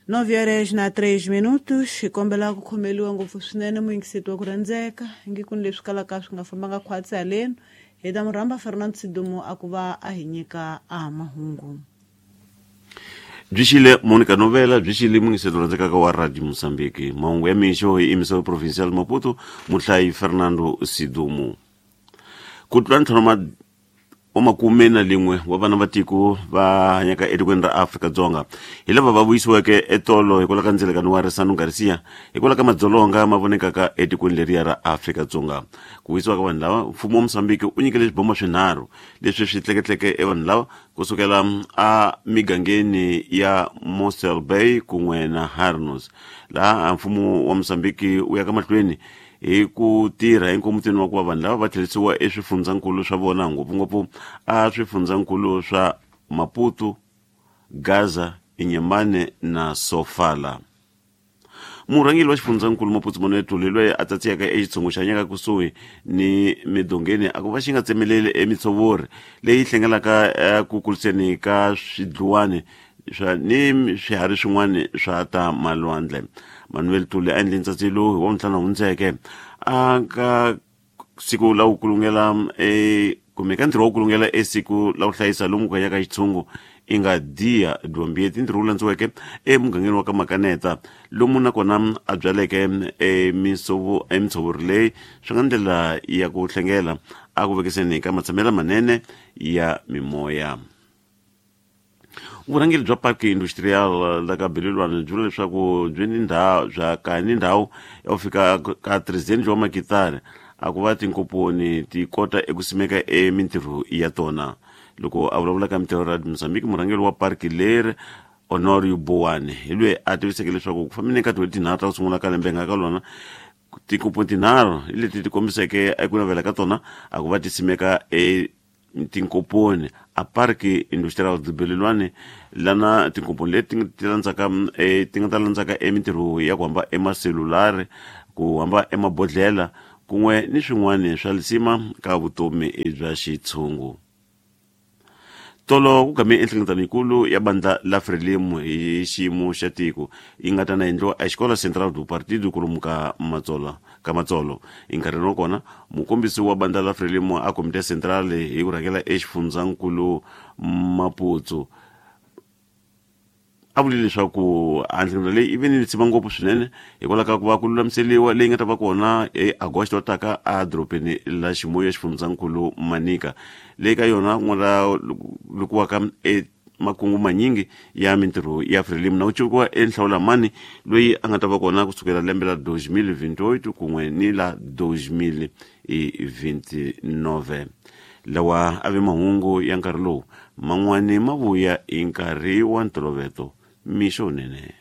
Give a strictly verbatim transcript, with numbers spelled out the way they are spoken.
Nove horas na três minutos, hi kombela ku khomeliwa ngopfu swinene muyingiseti wa ku rhandzeka ingi ku ni leswi kalaka swi nga fambanga khwatsi haleni hi ta mu rhamba Fernando Sidumo a ku va a hi nyika a mahungu. Byi xile Monica Novela, byi xile muyingiseti rhandzekaka wa Radio Mozambique. Mahungu ya mixo hi emissão provincial Maputo, muhlayi Fernando Sidumo. Ku tlula ntlhanu wa makume na lin'we wa vana va tiko va hanyaka etikweni ra Afrika-Dzonga hi lava va vuyisiweke etolo hikwalaho ka ndzilekano wa Risano Garcia hikwalaho ka madzolonga ma vonekaka etikweni leriya ra Afrika-Dzonga. Ku vuyisiwa ka vanhu lava, mfumo wa Mozambique u nyikele swibomo swinharhu leswi swi tleketleke evanhu lava kusukela a migangeni ya Mossel Bay kun'we na Harnos, laha mfumo wa Mozambique wu ya ka mahlweni hi ku tirha enkomutini wa ku va vanhu lava va tlherisiwa eswifundzankulu swa vona, ngopfungopfu a swifundzankulu swa Maputo, Gaza, Inhambane na Sofala. Murhangeri wa xifundzankulu Maputo Manuel Tuli, loyi a tsatsiyaka exitshungu xa nyaka kusuhi ni midongeni, a ku va xi nga tsemeleli emitshovori leyi hlengelaka ku kuriseni ka swidluwani swa ni swiharhi swin'wana swa ta malwandle. Manuel Tuli a endle ntsatselo hi wa ntlhanu hundzeke a ka siku la ku kulungela e kumbe ka ntirho wa ku kulungela esiku la ku hlayisa lomu ku hanyaka xitshungu i nga Dia Dwambieti, ntirho wu landziweke emugangeni wa ka Makaneta, lomu nakona a byaleke emisovo emitshovori leyi swi nga ndlela ya ku hlengela a ku vekiseni ka matshamelo manene ya mimoya. Vurhangeri bya Parque Industrial la ka Belilwane byi vula leswaku byi ni ndhawu bya ka ni ndhawu ya ku fika ka trezentos wa makitari a ku va tinkomponi ti kota eku simeka emintirho ya tona. Loko a vulavula ka mintirho ya Mozambique, murhangeri wa parki leri Honorio Boane hi loyi a tiviseke leswaku ku fambeni ka tin'hweti tinharhu ta ku sungula ka lembe nga ka lona, tinkomponi tinharhu hi leti ti kombiseke eku navela ka tona a ku va ti simeka e tinkomponi a Parque Industrial de Belilwane, lana tinkomponi leti ti landzaka e ti nga ta landzaka emintirho ya ku hamba emaselulari, ku hamba emabodhlela kun'we ni swin'wana swa lisima ka vutomi bya xitshungu. Tolo ku game enhlengeletano yikulu ya bandla la Frelimo hi xiyimo xa tiko yi nga ta na endliwa exikola Central do Partido kolomu ka Matsolo ka Matsolo. Enkarhini wa kona mukombisi wa bandla la Frelimo a Komite Central hi ku rhangela exifundzankulu Maputo a vule leswaku a nhlengeletano leyi yi ve ni lisima ngopfu swinene hikwalaho ka ku va ku lulamiseriwa leyi nga ta va kona hi Agosto taka a dorobeni la Chimoio xifundzankulu Manica, leyi ka yona ku nga ta lukiwaka e makungu manyingi ya mintirho ya Frelimo na ku civikiwa enhlawulamani loyi a nga ta va kona kusukela lembe la dois mil vinte e oito kun'we ni la dois mil vinte e nove. Lawa a ve mahungu ya nkarhi lowu man'wani ma vuya hi nkarhi wa ntolovelo. Mixo nene.